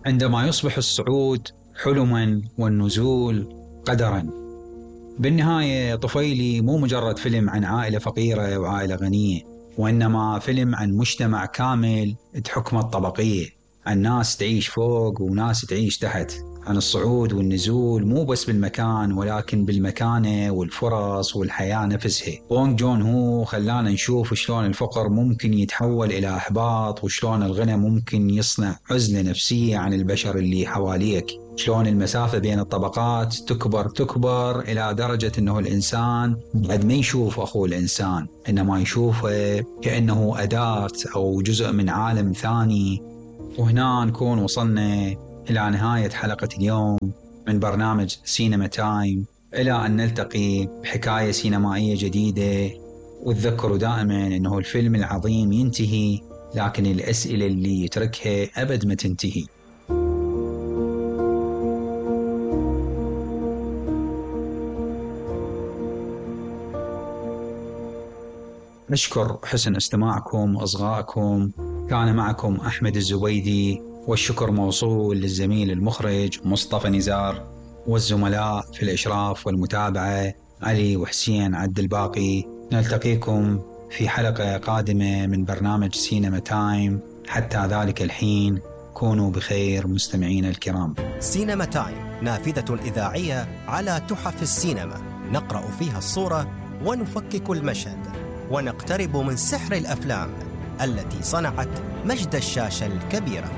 عندما يصبح الصعود حلما والنزول قدرا. بالنهاية طفيلي مو مجرد فيلم عن عائلة فقيرة وعائلة غنية، وإنما فيلم عن مجتمع كامل تحكمه الطبقية، عن ناس تعيش فوق وناس تعيش تحت، عن الصعود والنزول مو بس بالمكان ولكن بالمكانة والفرص والحياة نفسها. بونغ جون هو خلانا نشوف شلون الفقر ممكن يتحول إلى إحباط، وشلون الغنى ممكن يصنع عزلة نفسية عن البشر اللي حواليك، شلون المسافة بين الطبقات تكبر إلى درجة أنه الإنسان بعد ما يشوف أخوه الإنسان إنما يشوفه كأنه أداة أو جزء من عالم ثاني. وهنا نكون وصلنا إلى نهاية حلقة اليوم من برنامج سينما تايم، إلى أن نلتقي بحكاية سينمائية جديدة. وتذكروا دائما أنه الفيلم العظيم ينتهي لكن الأسئلة اللي يتركها أبد ما تنتهي. نشكر حسن استماعكم وإصغائكم. كان معكم أحمد الزبيدي، والشكر موصول للزميل المخرج مصطفى نزار، والزملاء في الإشراف والمتابعة علي وحسين عبد الباقي. نلتقيكم في حلقة قادمة من برنامج سينما تايم. حتى ذلك الحين كونوا بخير مستمعين الكرام. سينما تايم نافذة إذاعية على تحف السينما، نقرأ فيها الصورة ونفكك المشهد، ونقترب من سحر الأفلام التي صنعت مجد الشاشة الكبيرة.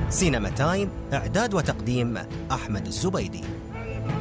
سينما تايم، إعداد وتقديم أحمد الزبيدي.